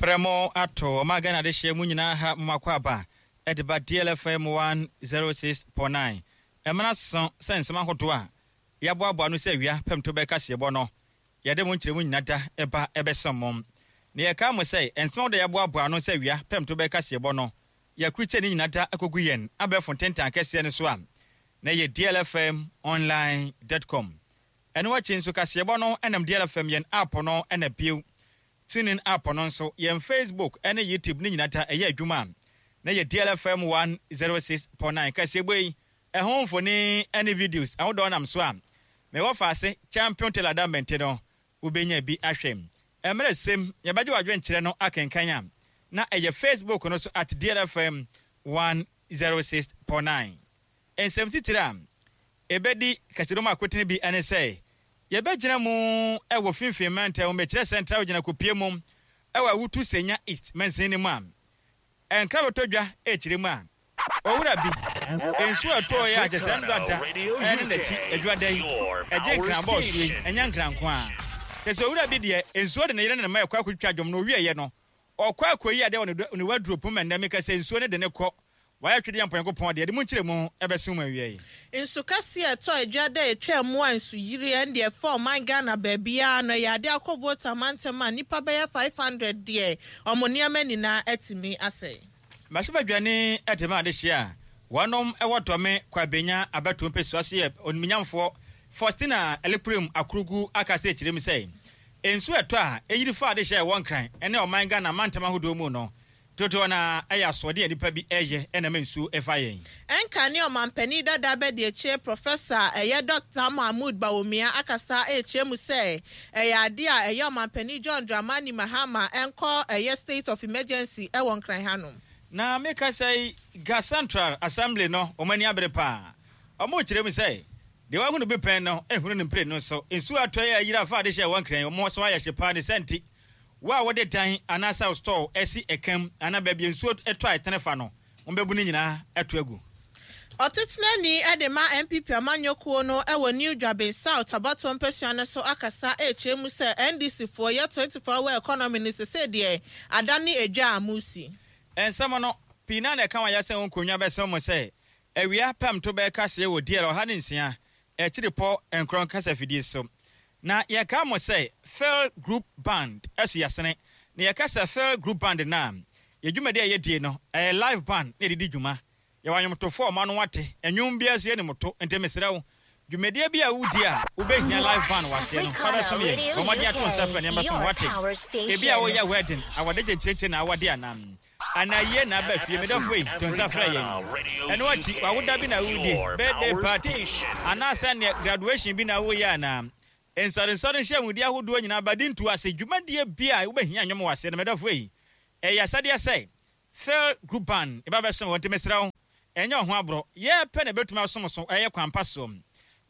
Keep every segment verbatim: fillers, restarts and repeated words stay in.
Prɛmo ato ɔma Ghana adehyeɛ mu nyinaa ha momakɔ aba ɛde ba D L F M one oh six point nine. Ɛmena so sɛ nsɛm ahodoɔ a yɛaboaboa no sɛ awia pɛmto bɛka seɛbɔ no, yɛde mo nkyerɛmu nyina da ɛba ɛbɛsɛm mo. Na yɛka mo sɛ nsɛm ahodoɔ a yɛaboaboa no sɛ awia pɛmto bɛka seɛbɔ no, yɛakurukyɛ ne nyina da akɔgu yɛn abɛɛfo ntentan kɛseɛ no so a na yɛ D L F M online dot com. Ɛno akyi nso, kaseɛbɔ no ɛnam D L F M yɛn app no, ɛna bio TuneIn app no nso, yɛn Facebook ɛne YouTube ne nyina da ɛyɛ adwuma a na yɛ D L F M one oh six point nine. Kaseɛbɔ yi ɛho mfoni ɛne videos ahodoɔ nam so a mewɔ faase Champion Taylor Dambɛnte no, wobɛnya bi ahwɛ. Mmerɛ sɛm yɛbɛgye w'adwenkyerɛ no akenkan a na ɛyɛ Facebook no so at D L F M one oh six point nine. Nsɛm titiri a ɛbɛdi kasedom akotene bi ɛne sɛ yɛbɛgyina mu ɛwɔ finfin mantam, mekyerɛ Central gyina kopie mu ɛwɔ Awutu Senya East mansin no mu a ɛnkra bɛtɔ dwa ɛkyerɛ mu a owura bi nsuo ɛtɔɔ yɛ a kyɛ sɛ ndɔ da ɛne n'akyi adwada yi ɛgye nkran bɔɔso yi, ɛnyɛ nkran nko a kyɛ sɛ owura bi deɛ nsuo de ne yere ne ne mma ɛkɔ akɔtwitwa dwom no owieɛ no, ɔkɔ akɔyi adeɛ wɔ ne waduro pum. Ɛnnɛ meka sɛ nsuo no de ne kɔ wayɛ twedeɛ mpɔnkopɔn deɛ de mu nkyerɛ mu ɛbɛso mu awie yi. Nsu kɛseɛ ɛtɔ adwa dɛ etwa mu a nsuyiri ɛn deɛ ɛfa ɔman Ghana baabiara no, ɛyɛ ade akɔ Volta mantam a nnipa bɛyɛ five hundred deɛ ɔmo nneɛma nyinaa atumi asɛe. Mmarahyɛbadwani ɛde ma adehyɛ a wɔnom ɛwɔ Dɔme Kwabenya abɛto mpɛsua so yɛ onimnyamfoɔ Faustina Elikplim Akurugu aka sɛ kyerɛ mu sɛ nsuo ɛtɔ a ɛyiri fa adehyɛ a ɛwɔ Nkran ɛne ɔman Ghana mantam ahodoɔ mu no dodoɔ na ɛyɛ asoɔden a nipa bi ɛyɛ ɛnam nsuo ɛfa yɛn. Ɛnka ne ɔmampanin dada bɛde akyire, Professor ɛyɛ Doctor Mahmood Bawumia akasa ɛrekyerɛ mu sɛ ɛyɛ ade a ɛyɛ ɔmampanin John Dramani Mahama ɛnkɔ ɛyɛ state of emergency ɛwɔ Nkran hanom. Na meka sɛ Ga Central Assembly no, wɔn ani abere paa. Ɔmo kyerɛ mu sɛ deɛ wahunu bi pɛn no ehunu ne mpire no so nsuo atɔ yɛ ayiri afa ade hyɛ wɔn Nkran, wɔn so ayɛ hye paa. Ne sɛnti wo a wɔde dan anaasɛ store ɛsi ɛkam anaa baabi nsuo ɛtɔ a ɛtene fa no, wɔn bɛbu ne nyinaa ɛto agu. Ɔtetenani de ma N P P amanyɔkuo no wɔ New Dwaben South abatoɔ mpasua no so akasa ɛrekyerɛ mu sɛ N D C foɔ yɛ twenty-four hour economy no sese deɛ adane edwa a musi. Nsɛm no pii na na ɛka wɔn ayɛsɛ wɔn nkonnwa bɛsɛn mu sɛ awia pɛm to bɛka seɛ wɔ D L ɔha ne nsia akyiri pɔ nkorɔn kasa fidie so. Na yɛka mo sɛ Phil Group Band ɛso yɛsene na yɛka sɛ Phil Group Band na yɛ dwumadi a yɛdie no ɛyɛ live band na yɛde di dwuma. Yɛwɔ anwomtofoɔ a ɔma no wate ɛnwom biara so yɛne moto. Nti mesrɛ wo, dwumadie bi a wodi a wobɛhia live band waseɛ no, fa bɛsom yɛn. Bɔ mmɔden ato nsa frɛ nneɛma som wate. Ebi a woyɛ wedding, awɔde gye na awɔde anam anaa yie na aba fie, medɔfo yi, to nsa frɛ yɛn. Ɛno akyi, wawoda bi na wodi, birthday party anaasɛ neɛ graduation bi na woyɛ anaa nsɔrensɔre nhyiamudi ahodoɔ nyinaa bade ntu ase dwumadie bi a wobɛhia nnwom wɔ aseɛ no, medɔfo yi, ɛyɛ asɛdeɛ sɛ Phil Group Band ɛba bɛsom wɔn. Nti mesrɛ wo, ɛnyɛ ɔho aborɔ yɛpɛ na ɛbɛtumi asom so ɛyɛ kwan pa soɔ.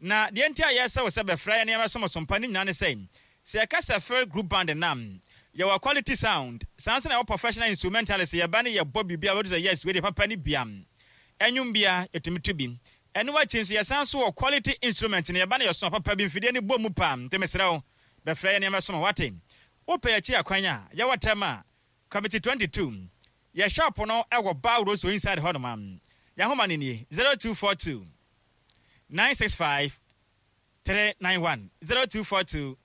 Na deɛ nti a yɛsɛ wo sɛ bɛfrɛ yɛ nneɛma som so mpa ne nyinaa ne sɛ sɛ yɛka sɛ Phil Group Band nam, yɛwɔ quality sound, saa nso na yɛwɔ professional instrumentalist. Yɛba ne yɛbɔ biribi a wɔde sɛ yes, wei deɛ papa ne bia ɛnwom bia yɛtumi to bi. Ɛno akyi nso, yɛsan so wɔ quality instrument no, yɛba ne yɛso papa bi mfidie ne bɔ mu paa. Nti mesrɛ wo, bɛfrɛ yɛ nneɛma som. Wate, wopɛ yɛkyi akwan a yɛwɔ tɛm a Committee twenty-two, yɛ shop no ɛwɔ Bar Roso inside hɔ nom a yɛahoma no nie: zero two four two nine six five three nine one, zero two four two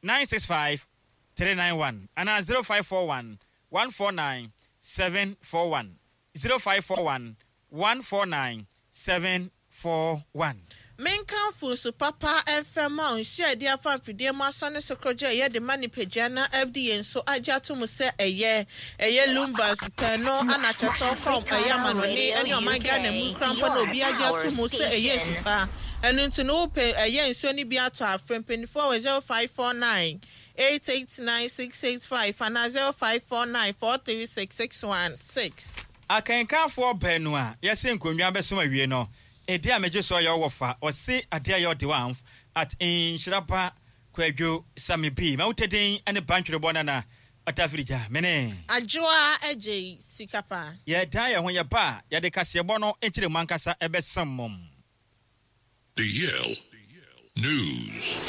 nine six five three nine one, anaa zero five four one one four nine seven four one, zero five four one one four nine seven four one. Menkamfo nsu papa mfɛm a nsuo a yɛde afa mfidie mu asɔ ne so korɔgye a ɛyɛ de ma nipadua na F D A nso agye ato mu sɛ ɛyɛ ɛyɛ Lumba supɛ no ana kyerɛ sɛ ɔkɔ ɛyɛ amanɔne ɛne ɔman Ghana mu kora mpo na obi agye ato mu sɛ ɛyɛ nsu pa. Ɛno nti no, wopɛ ɛyɛ nsuo no bi atɔ afrɛ mpanimfoɔ wɔ zero five four nine eight eight nine six eight five anaa zero five four nine four three six six one six. Akankanfoɔ baanu a yɛsɛ nkonnwa bɛsom awie no, ɛdi a megye so ɔyɛ ɔwɔ fa ɔse adeɛ a yɛ ɔde wanf at Nhyiraba Kwadwo Sami bi ma wotɛden ne bantwerebɔ nana ɔtafirigya mene. Adwoa Agye Sika Pa. Yɛdan yɛn ho, yɛba a yɛde kaseɛbɔ no nkyerɛ mu ankasa ɛbɛsam mom. D L News.